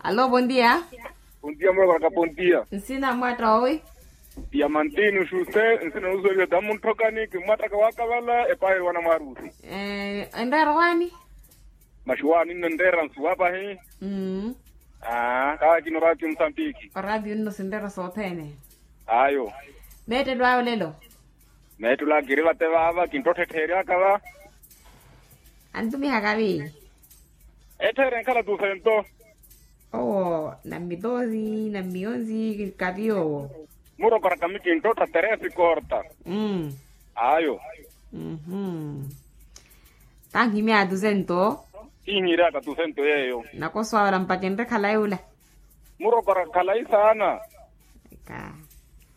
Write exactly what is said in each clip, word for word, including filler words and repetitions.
Alo, bondia. Bondia muroko aka bondia. Nsina mwatta owi? Diamantino xuxe nsina nusuweliwe tamu ntthokani kimmwattaka wakavala epaaheri wana mwarusi. Enreera owaani? Maxuwaani nno enreera nsuwa pahi. Aa kaakina oraatiyo musambiki. Oraatiyo nno sinreera sothene. Ayo. Meettelo awe olelo. Meettelo akiri vate vaava kinttotthettheeryaka va. Antumihaka vi? Ettha eri enkhala tusento. Owo nammi toosi nammi onsi kavi owo. Murokoraka mi kinttottha teresi korta. Ayo. Tanhimya tusento. Kinhiryaka tusento yeeyo. Nakoso awala mpakha enre khalayi ula. Murokoraka khalayi saana. Eka.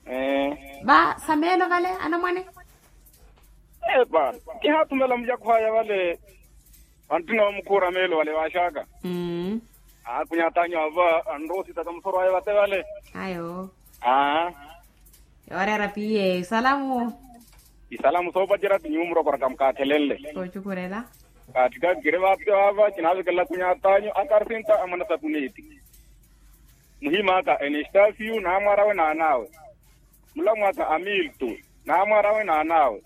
Ee. Va sameelo vale anamwane. Epa. Kihaathumela mucakho aya vale. Vantthuna wamukhuura meelo vale vaaxaka. Aakunyat'anyu ava anroositaka musoro aya vate vale. Ayo. Aa. Yooreera piye isalamu. Isalamu soopacerya ti nyuwo murokoraka mukaathelenle. Soocukhurela. Kaatthikaka kiri vate vaava kinaavekelela akunyat'anyu akarsinta amwana sapuneti. Muhim'aka enestasio n'amwar'awe n'an'awe. Mulamw'aka amilto n'amwar'awe n'an'awe.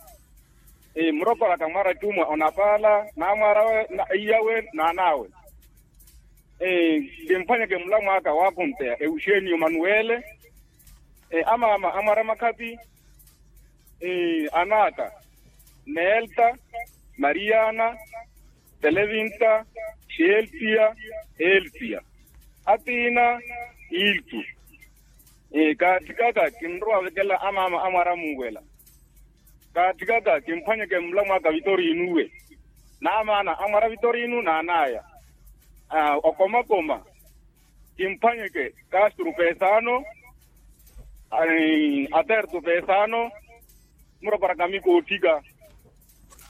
Murokoraka mwar'atumwa onapaala n'amwar'awe, iyawe n'an'awe. Kimphwanyeke mulamw'aka waakhumpeya euxenio manuwele. Amaama amwar'amakhapi. An'aka neelta, mariyana, televinta, xeeltiya, eltiya. Atiina iltu. Kaatthikaka kinrowa avekelela amaama amwar'amuwela. Kaatthikaka kimphwanyeke mulamw'aka vitorinuwe. N'amaana amwar'a vitorinu n'an'aya. Okomakoma. Kimphwanyeke kastru pesano. Atertu pesano. Murokoraka mikootthika.